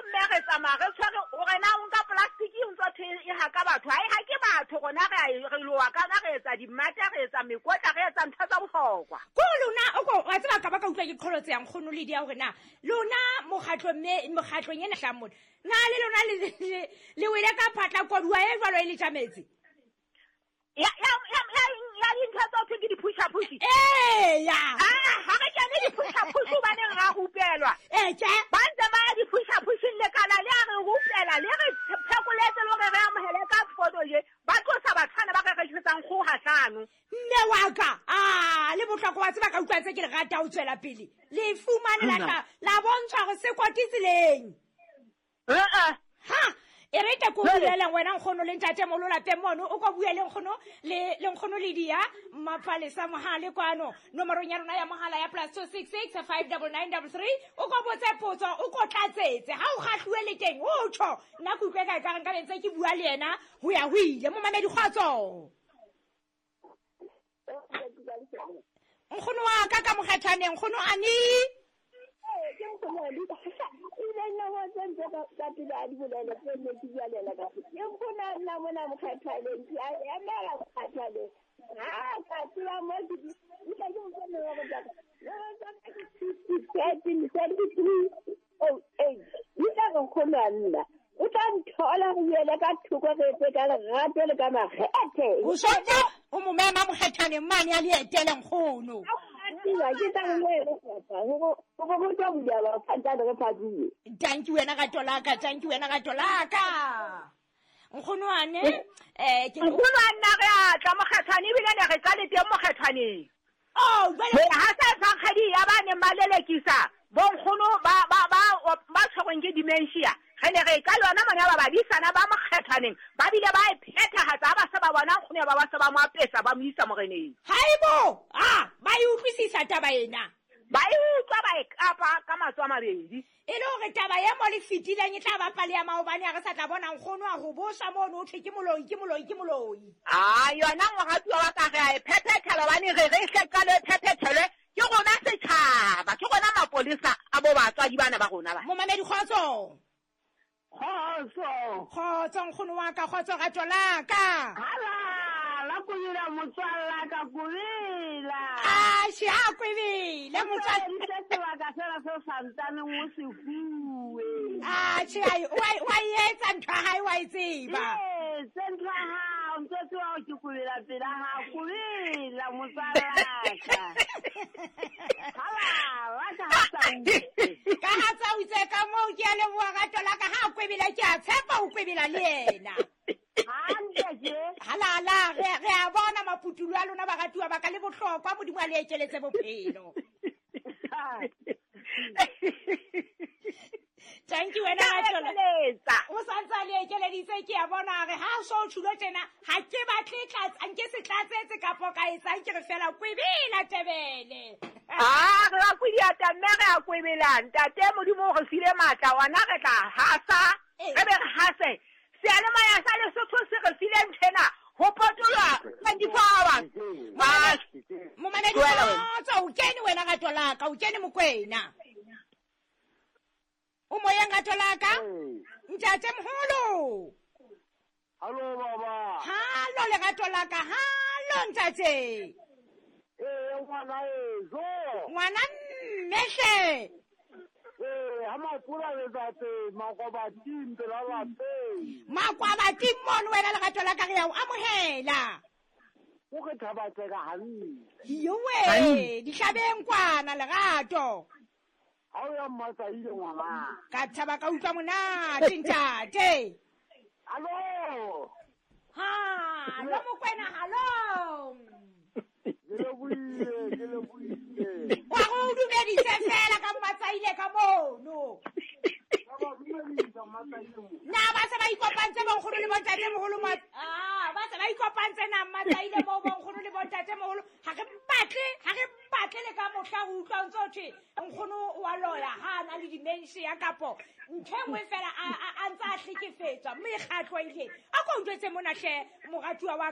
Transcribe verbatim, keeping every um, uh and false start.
mme re tsamaya re tshwere o rena o nka plastic o ntse thwe e haka batho ha e hake batho rona re a re loa kana re etsa dimata re etsa mekotla re etsa ntho tsa bohlokwa ko lona o ko wa tseba ka ba ka utlwa ke qholotse yang kgono le dia hore na lona mokgatlo mme mokgatlong ena hlang mona na le lona le le wele ka phatla koduwa e jwalo e le tjametse ya ya ya ya dintho tsa thwe ke di-pusha push ee ya ah ha re kene di-pusha push hobaneng ra rupelwa ee tje ba ntse ba ya di-pusha pushing lekala le a re rupela le re phekoletse le hore re amohele ka foto je ba tlosa bathwana ba re rekisetsang kgoho hlano mme wa ka ah le bohlokwa wa tseba ka utlwa tse ke le rata ho tswela pele le fumane la tla la bontshwa hore se kwati tseleng eh ha e re ke ko bueleng wena nkgono le ntate molo lapeng mono o ko bueleng nkgono le le nkgono le dia mapalesa mohale kwano nomorong ya rona ya mohala ya plus two six six five nine nine three three o ko botse potso o ko tlatsetse ha o kgahluwe le teng o tjho nna ke utlwe ka ka nka bentse ke bua le yena ho ya ho ile momamedi kgotso nkgono wa ka ka mokgathaneng nkgono ani ke nkgono le ile nna wa tsentse ka pele a di bolele tse ne ke bualela ka ke nkgono nna mona mokgathaneng ke a emela mokgathaneng ha ka tseba mo ke ke ke nkgono wa go tsaka thirteen seventy-three oh eight di tla re nkgono a nna o tla nthola re buele ka thoko re etse ka lerato le ka makgethe o sotse o mo mema mokgathaneng mane a le etele nkgono thank you wena ka tolaka thank you wena ka tolaka nkgono ane eh ke nkgono a nna re a tla mokgathane ebile ne re tla le teng mokgathaneng oh jwale ha sa tsankgedi ya ba neng ba lelekisa bonkgono ba ba ba ba tshwerweng ke dementia re ne re ka lona mona ba badisana ba mokgathaneng ba bile ba e phethahatsa ba se ba bona nkgono ba ba se ba mo apesa ba mo isa moreneng haibo ah ba e utlwisisa taba ena ba e utlwa ba e kapa ka matsoho a mabedi e le hore taba e mo le fetileng e tla ba pale ya maobane ha re sa tla bona nkgono a ho boswa mono o thwe ke moloi ke moloi ke moloi ah yona moratuwa wa ka re a e phephethela hobane re re hle qalo e phephethelwe ke rona setjhaba ke rona mapolesa a bo batswadi bana ba rona ba momamedi kgotso kgotso kgotso nkgono wa ka kgotso rato la ka hala la kubila motswalla ka kubila a shi a kwebile motswalla se sebaka fela se santsaneng o se fuwe a shi ai wa etsa ntho ya hae wa e tseba ee tse ntho ya hao ntse tseba hore ke kubila pela hao kubila motswalla ka hala la ka ha sa ka ha tsa utse ka moo ke a leboha rato la ka ha kwebila ke a tshepa o kwebila le yena halala re re a bona maputulo a lona baratuwa ba ka le bohlokwa modimo a le ekeletse bophelo thank you wena Ratola o santse le ekeleditse ke a bona re ha so tshilo tjena ha ke batle tlatsa nke se tlatsetse kapo ka etsang ke re fela kwebela tebele ah re a kwediata mme re a kwebela ntate modimo o re file matla ona re tla hasa re be re hase seyalemoya sa Lesotho se re file nthena ho potolwa twenty-four hours momamedi kgotso o kene wena rato la ka o kene Mokwena o moyeng rato la ka ntate moholo hallo baba hallo lerato la ka hallo ntate ee ngwana ezo ngwana mmehle ee ha mapula letsatsi makwabating pela lapeng makwabating mono wena lerato la ka re ya o amohela o re thabatseka hantle yowe dihlabeng kwana lerato ha o ya mmatsaile ngwana ka thaba ka utlwa monate ntate hallo ha lo Mokwena hallo ke lebohile ke lebohile wa go dumedise fela ka mmatsaile ka mono na ba se ba ikopantse bonkgono le bontate moholo ma ah ba se ba ikopantse na mmatsaile mo bonkgono le bontate moholo ha re batle ha re batle le ka mohla ho utlwa ntse ho thwe nkgono wa loya ha na le dementia kapo ntho e nngwe fela a ntse a hlekefetswa mekgatlo ile a ko njwetse mona hle moratuwa wa